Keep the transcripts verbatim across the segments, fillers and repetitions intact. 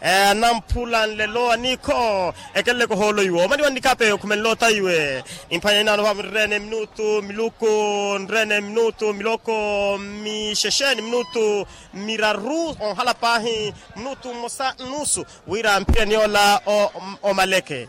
Anamphula nlelo aniikho ekeleleke ohoolo iwo omani wa nnikhape okhumenle otaiwe. Imphwanya inaano vaavo nreene minutu miluku nreene minutu miloko mixexe ni minutu miraru onhala paahi minutu mmosa nnusu wira mphirani yoola omaleke.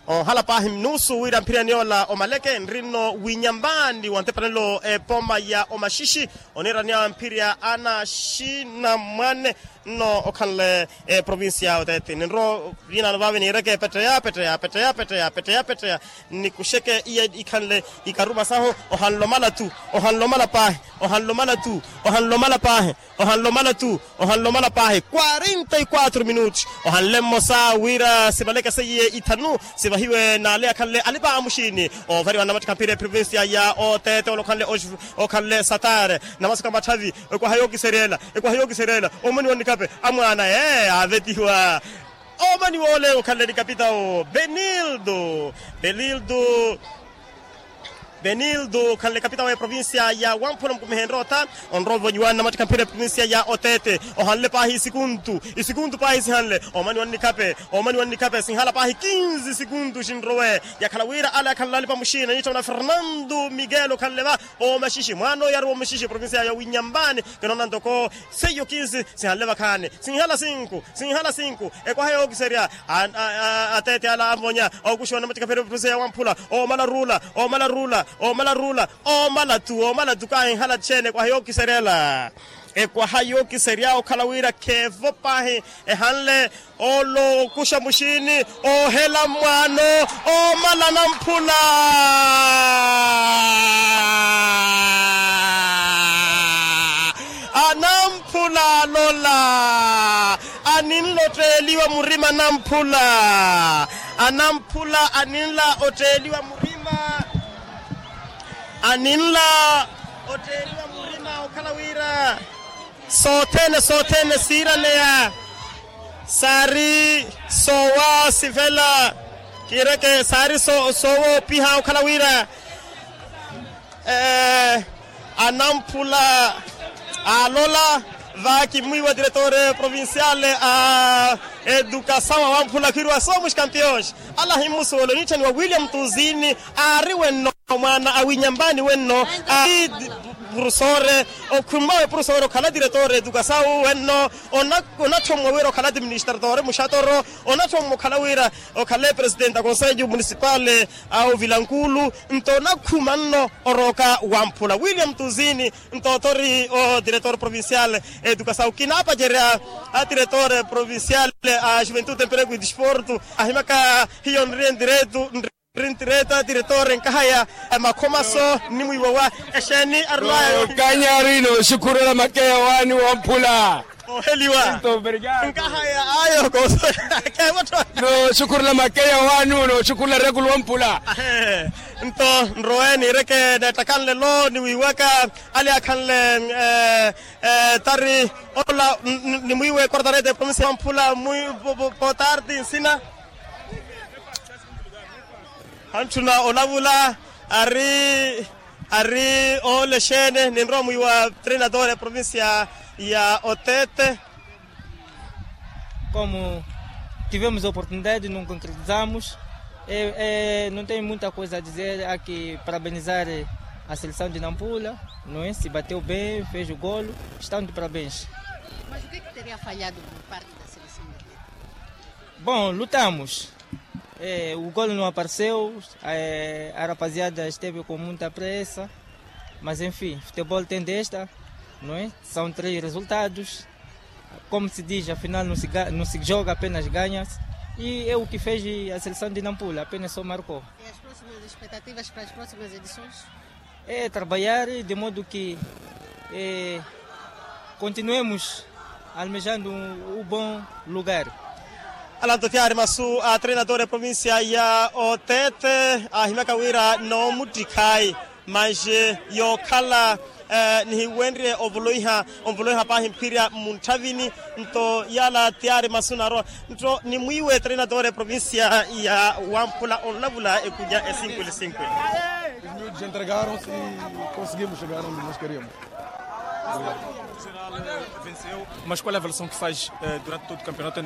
Onhala paahi nnusu wira mphirani yoola omaleke nri nno winyambaani wa ntepanelo epoma ya omaxixi oniiraniya mphirya ana xinamwane nno okhanle eprovincia ya otete ninro. Vinaano vaave niireke petteya petteya petteya petteya petteya petteya petteya nikuxeke iya ikhanle ikaruma sahu. Ohanle omala tu ohanle omala paahi ohanle omala tu ohanle omala paahi ohanle omala tu ohanle omala paahi quarenta y quatro minutos. Ohanle mmosa wira sivaleke seiye ithanu sivahiwe n'ale akhanle alipa a muxiini oovariwa namatikhampira eprovincia ya otete ole okhanle satare namasaka matthavi. Ekwaha yookiseryela ekwaha yookiseryela omoni wa nnikhape amwaana ee aavetiwa. Omoni woole okhanle ni kapitawo benildo benildo benildo okhanle kapitawo eprovincia ya wamphula mukumihenre otha onrowa ovonyiwani namattikha mphira eprovincia ya otete. Ohanle paahi isikuntu isikuntu paahi sihanle omani wa nnikhape omani wa nnikhape sinhala paahi kinzi isikuntu xinrowe yakhala wira ale akhanle alipa muxiina niittha muna fernando miguel okhanle va omaxixi mwaana oyaruwa omaxixi eprovincia ya winyambani kinoona ntoko seiyo kinzi sihanle vakhaani sinhala sinku sinhala sinku ekwaha yookiserya atete ala anvonya okuxiwa namattikha mphira eprovincia ya wamphula omala ruula omala ruula omala ruula omala tu omala tu kaahinhala txeene ekwaha yookiseryela ekwaha yookiserya okhala wira kheevo paahi ehanle olo okuxa muxiini oohela mwaano omala anamphula anamphula alola aninla otteeliwa murima anamphula anamphula aninla otteeliwa murima aninla otteeliwa murima okhala wira sothene sothene siiraneya saari soowa sivela kiireke saari soowa opiha okhala wira anamphula alola va kimwiiwa diretor provincial a educasaw awamphula khwiiriwa somos campeões ala himmusuwela oniitthaniwa william tuzini aari wenno mwaana awinyambani wenno aari purusore okhummawe purusore okhala diretor educasaw wenno onathommwa wira okhala administratore muxatoro onathommwa okhala wira okhala epresidente a conselho municipal a ovilankulu nto onakhuma nno orooka wamphula william tuzini nto othori o diretor provincial educasaw kinaapacerya a diretor provincial a juventude emprego e disporto ahimaka hiyo nri endiretu nri ntireta diretor enkahaya makhomaso nnimwiiwa wa exeeni arulayo kanyari nooxukhurela makeya waani wamphula oheliwa nkahaya ayo kooso keevottho nooxukhurela makeya waani nooxukhurela rekulu wamphula nto nrowe niireke neettakanlelo niwiiwaka ali akhanle tari ola nimwiiwe kortarete provincia wamphula mwi potarti nsina hantthuna olavula ari ari oole exeene ninrowa mwiiwa treinador ya provincia ya otete como tivemos a oportunidade de nos concretizarmos não tenho muita coisa a dizer há que parabenizar a seleção de nampula não é se bateu bem fez o golo estão de parabéns. Mas o que é que teria falhado por parte da seleção de bom lutamos o golo não apareceu a rapaziada esteve com muita pressa mas enfim futebol tem desta não é são três resultados como se diz afinal não se joga apenas ganha-se e é o que fez a seleção de nampula apenas só marcou. E as próximas expectativas para as próximas edições? É trabalhar de modo que continuemos almejando o bom lugar. Alanto tiyari masu a treinador ya provincia ya otete ahimyaka wira noomuttikhayi manje yookhala nihiwenrye ovoloiha onvoloiha paahi mphirya munthavini nto yaala tiyari masu naarowa nto nimwiiwe treinador ya provincia ya wamphula onlavula ekunya esinkwili sinkwili. Os miúdos entregaram-se e conseguimos chegar onde nós queríamos. Mas qual é a avaliação que faz durante todo o campeonato?